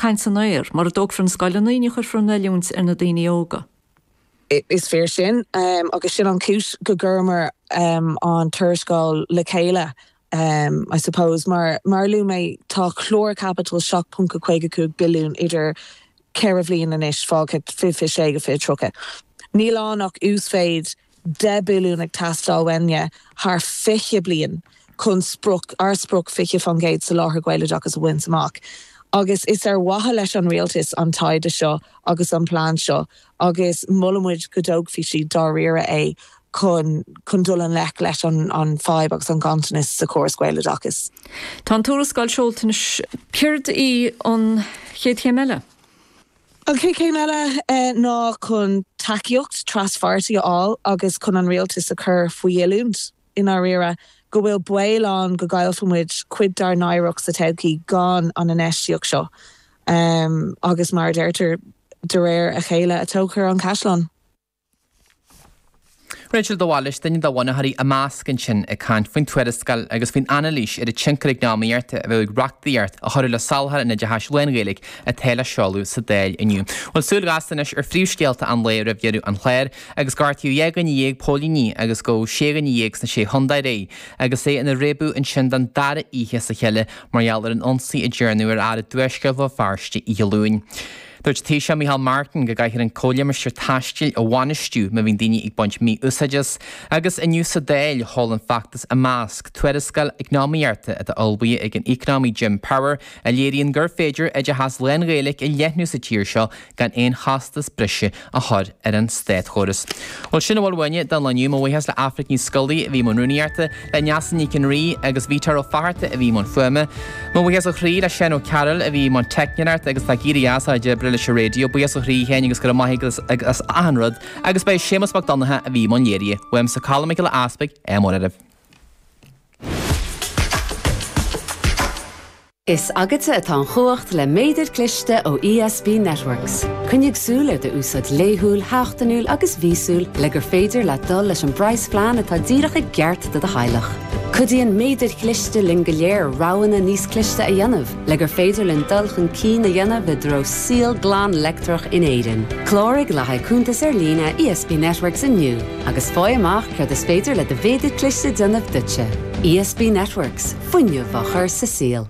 caint san aer. Mura dtógfar na scoileanna, ní chuirfear an oiliúint ar na daoine óga. Is fíor sin, agus sin an chúis go gcuireamar an tuarascáil le chéile, I suppose. Mar mar a luaigh mé, tá clár caipitil 7.55 billiún idir 4 bhliain anois fágtha, 2026 go 2030. Níl ann ach uasmhéid 10 billiún ag teastáil uainne thar 20 bliain chun sprioc, ár sprioc 20% soláthar Gaeloideachas a bhaint amach. Agus is ar mhaithe leis an rialtas an taighde seo agus an plean seo agus molaimid go dtógfaí siad dáiríre é chun chun dul i ngleic leis an an fadhb agus an ganntanas sa chóras Gaeloideachais. Tá an tuarascáil seolta anois. Céard í an chéad chéim eile? An chéad chéim eile ná chun tacaíocht traspháirtí a fháil agus chun an rialtas a chur faoi oiliúint, i ndáiríre, go bhfuil baol ann go gcaillfidh muid cuid dár n-oidhreacht sa todhchaí gan an infheistíocht seo. Agus mar a deirtear, de réir a chéile a tógthar an caisleán. Rachel de Bhailís, duine de bhunaitheoirí Imeasc ansin ag caint faoin tuarascáil agus faoin anailís ar an tionchar eacnamaíochta a bheadh ag reachtaíocht a chuirfeadh le soláthar an oideachais lán-Ghaeilge atá le seoladh sa Dáil inniu. Bhuel, súil ghasta anois ar phríomhscéalta an lae roimh dheireadh an chláir agus gortaíodh 12 dhuine póilíní agus gabhadh 16 dhuine sna Sé Chontae aréir agus é ina réabadh ansin don dara oíche as a chéile mar gheall ar an ionsaí a dearnadh ar fhear i dtuaisceart Bhéal Feirste oíche Luain. Dúirt an Taoiseach Micheál Martin go gcaithfear an comhlimistéar taistil a bhainistiú má bhíonn daoine ag baint mí-úsáid as, agus inniu sa Dáil sheol an feachtas Imeasc tuarascáil eacnamaíochta atá ullmhaithe ag an eacnamaí Jim Power a léiríonn gur féidir oideachas lán-Ghaeilge a leathnú sa tír seo gan aon chostas breise a chur ar an státchóras. Bhuel, sin a bhfuil uainne don lá inniu. Mo bhuíochas le Aifric Ní Scolaí a bhí i mbun rúnaíochta, le Neasa Nic an Rí agus Vítear Ó Fatharta a bhí i mbun fuaime. Mo bhuíochas ó chroí le Seán Ó Cearúil a bhí i mbun teicneoireachta agus atá ag éirí as a chuid oibre leis an raidió. Buíochas ó chroí a Sheáin agus go raibh maith agat as achan rud. Agus ba é Séamus Mac Donncha a bhí i mbun léirithe. Uaimse Colm Mac Giolla Easpaig, ádh mór oraibh. Is agatsa atá an chumhacht le méadar cliste ó ESB Networks. Coinnigh súil ar d'úsáid laethúil, sheachtainiúil agus mhíosúil le gur féidir leat dul leis an bpraghasphlean atá díreach i gceart do do theaghlach. Cuidíonn méadair chliste linn go léir roghanna níos cliste a dhéanamh le gur féidir linn dul chun cinn a dhéanamh i dtreo saol glan leictreach in Éirinn. Cláraigh le haghaidh cuntas ar líne ESB Networks inniu agus faigh amach céard is féidir le do mhéadar cliste déanamh duitse. ESB Networks. Fuinneamh á chur sa saol.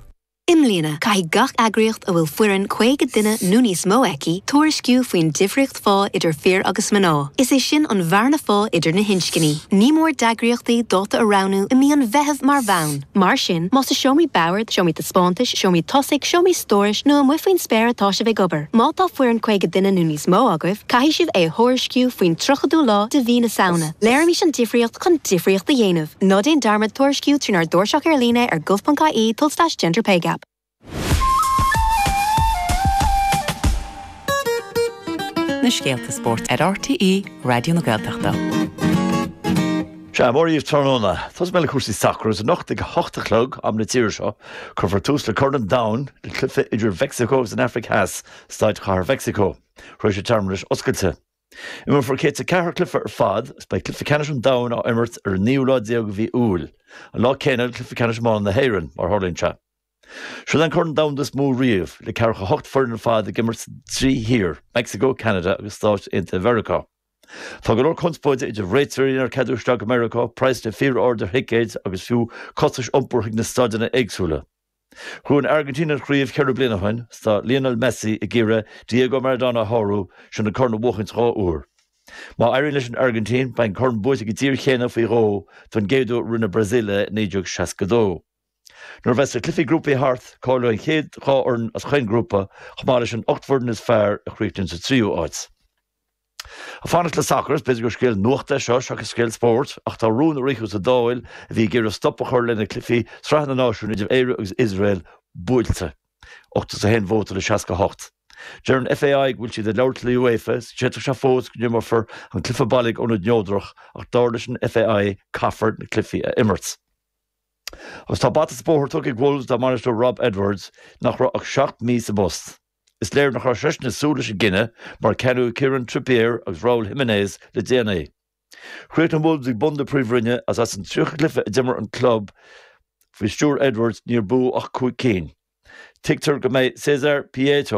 I mbliana, caithfidh gach eagraíocht a bhfuil foireann 50 duine nó níos mó aici tuairisciú faoin difríocht phá idir fir agus mná, is é sin an bhearna phá idir na hinscní. Ní mór d'eagraíochtaí dáta a roghnú i mí an Mheithimh mar bhonn. Mar sin, más i seomraí boird, seomraí taispeántais, seomraí tosaigh, seomraí stórais nó amuigh faoin spéir atá sibh ag obair, má tá foireann 50 duine nó níos mó agaibh, caithfidh sibh é a thuairisciú faoin 30ú lá de mhí na Samhna. Léirímis an difríocht chun difríocht a dhéanamh. Ná déan dearmad tuairisciú trínár dtairseach ar líne ar gov.ie tulslais gender pay gap. Na scéalta spóirt ar RTÉ Raidió na Gaeltachta. Sea, mora dhaoibh tráthnóna. Tosóidh mé le cúrsaí sacair agus anocht ag a hocht a chlog, am na tíre seo, cuirfear tús le Corn an Domhain le cluiche idir Mheicsiceo agus an Afraic Theas, Staid Chathair Mheicsiceo, tar éis na searmanais oscailte. Imreofar 104 cluiche ar fad agus beidh cluiche ceannais an domhain á imirt ar an naoú lá déag de mhí Iúil, an lá céanna le cluiche ceannais iomána na hÉireann, mar a tharlaíonn sé. Seo é an Corn Domhanda is mó riamh, le ceathracha hocht foireann ar fad ag imirt sa dtrí thír, Meicsiceo, Ceanada agus Stáit Aontaithe Mheiriceá. Tá go leor conspóide idir réiteoirí nár ceadaíodh isteach go Meiriceá, praghsanna fíor-ard ar thicéid agus fiú costais iompair chuig na staideanna éagsúla. Ghnóthaigh an Airgintín an chraobh cheithre bliana ó shin, 's tá Lionel Messi ag iarraidh Diego Maradona a shárú, sin an corn a bhuachaint dhá uair. Má éiríonn leis an Airgintín, beidh an corn buaite ag an dtír chéanna faoi dhó, don gcéad uair rinne Brazil é i 1962. Nuair a bheas na cluichí grúpaí thart, cáileoidh an chéad dhá fhoireann as chaon ghrúpa, chomh maith leis an 8 bhfoireann is fearr a chríochnaíonn sa tríú háit. Ag fanacht le sacar, is b'fhéidir gur scéal nuachta é seo seachas scéal spóirt, ach tá rún a ritheadh sa Dáil a bhí ag iarraidh stop a chur le na cluichí Sraithe na Náisiún idir Éire agus Iosrael buailte. 81 vóta le 68. Deir an FAI go bhfuil siad ag labhairt le UEFA is d'fhéadfadh sé fós go n-imreofar an cluiche baile ag ionad neodrach ach dar leis an FAI caithfear na cluichí a imirt. Agus tá bata sa bóthar tugtha ag Wolves dá mbainisteoir Rob Edwards nach raibh ach 7 mí sa bpost. Is léir nach raibh seisean ag súil leis an gcinneadh mar ceannaíodh Kieran Trippier agus Raul Jimenez le déanaí. Chríochnaigh Wolves ag bun na Príomhroinne agus as an 30 cluiche a d'imir an club faoi stiúir Edwards níor buadh ach 5 cinn. Tuigtear go mbeidh Cesar Prieto.